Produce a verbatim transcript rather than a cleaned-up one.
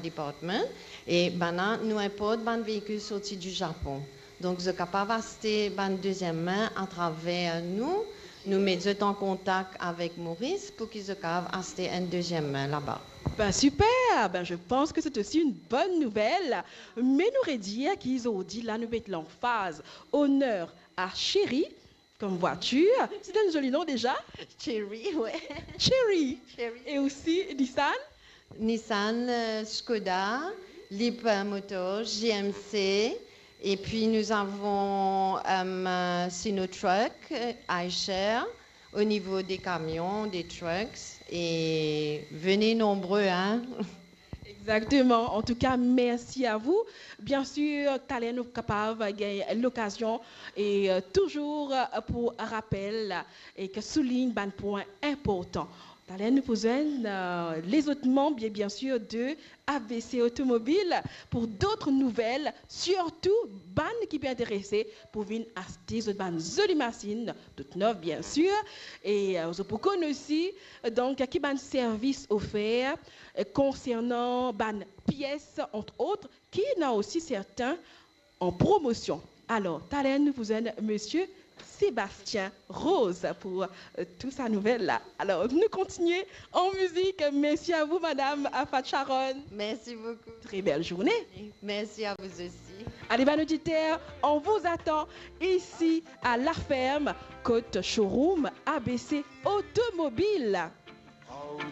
department, e bann la, nou inport bann veikil sorti di Zapon. Donk, zot kapav aste bann deziem min atraver nou. Nou met zot an kontak avek Maurice pou ki zot kapav aste enn deziem min laba. Ben, super! Ben, je pense que c'est aussi une bonne nouvelle. Me nou redir ki zordi la, nou met lanfaz, oner a Chery kom vwatir. C'est un joli nom déjà. Chery, ouais. Chery. Chery. E osi Nissan. Nissan, euh, Skoda, Leap Motors, J M C, et puis nous avons, euh, Sinotruk, euh, iShare, au niveau des camions, des trucks, et venez nombreux, hein. Exactement. En tout cas, merci à vous. Bien sûr, taler nou kapav gagn lokazion e, euh, touzour, euh, pou rapel e ki soulign bann pwin inportan. Taler nou pou zwenn, euh, lezot manb, bien, bien sûr, de A B C Automobile pour d'autres nouvelles, surtout bann ki pe interese pou vinn aste zot bann zoli masinn, tout nef, bien sûr. E, euh, zot pou konn osi, euh, donk, ki bann servis ofer, euh, konsernan bann pies, entre autres, ki ena osi sertin an promosion. Alor, taler nou pou zwenn Monsieur Sébastien Rose pour, euh, tout sa nouvel la. Alor, nou kontinie an mizik. Merci à vous, Madame Afat Sharon. Merci beaucoup. Très belle journée. Merci à vous aussi. Allez, bann oditer, on vous attend ici à La Ferme, kot showroom A B C Automobile.